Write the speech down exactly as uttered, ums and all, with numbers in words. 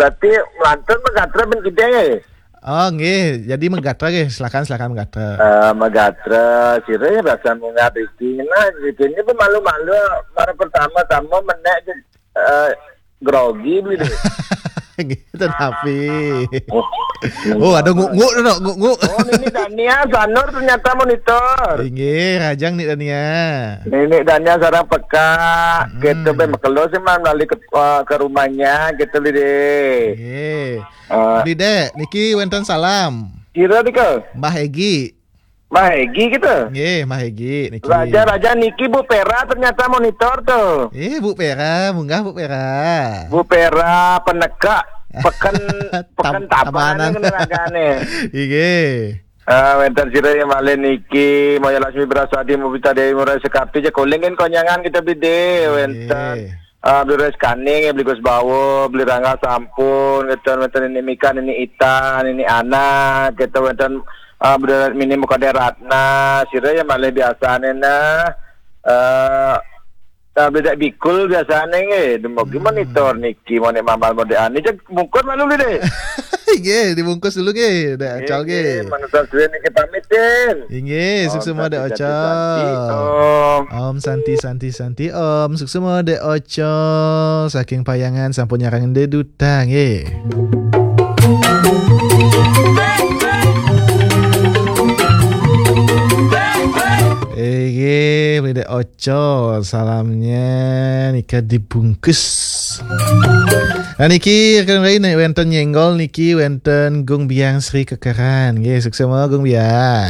Berarti melantun megatra ben gedé nggih. Oh, nggih. Jadi megatra nggih. Silakan, silakan megatra. Eh, megatra, sira ya biasa munggah iki. Nah, iki ini pemalu-malu, para pertama-tama menek, eh, grogi beli deh. Nggih, tetapi. Oh, ada nguk-nguk tu, nguk-nguk. Oh, Nini Dania, Sanur ternyata monitor. Inggih, rajang Nik Dania. Nini Dania sarang peka, Hmm. Kita be makelo sih, Man, balik ke, eh, ke rumahnya, kita beli deh. Nggih. Eh. Beli dek, niki wenten salam. Kira nika? Mbah Egi. Mbah Egi kita. Nggih, Mbah Egi niki. Raja-raja niki Bu Pera ternyata monitor tuh. Eh, Bu Pera, munggah Bu Pera. Bu Pera peneka peken, Tam-, peken tabanan tabanan. Ini ragane. Inggih. Ah, wenten sira yang malih niki, Maya Lasmi Berasadi, Mubita Dewi Murai Sekapi, je kolingen konyangan kita bide, Inggih. Wenten, ah, Beli Reskani, Beli Gus Bawo, Beli Rangga Sampun, kita wenten ini Mika, ini Ita, ini Ana, kita wenten, ah, Beli Mini Mukade Ratna, sira yang malih biasane nah, eh, Nah, bedak bikul biasane nggih, dumugi Hmm. monitor niki, mau nek mamal mau nek ani, cek bungkus malu deh. Nggih, dibungkus dulu nggih, Dek Nggih, Acal nggih, nggih. Monitor duwe niki pamitin. Inggih, Om sukses Santi, Dek Santi, Acal. Santi, Om. Om Santi, Santi, Santi, Om. Sukses Dek Acal. Saking Payangan sampun nyarang Dek Duta nggih. Inggih, Dek Acal. Col, salamnya nika dibungkus. Nah, niki rekan lain nih, wenten nyenggol niki, wenten Gung Biang Sri Kekeran. Nggih, sukses mawon Gung Biang.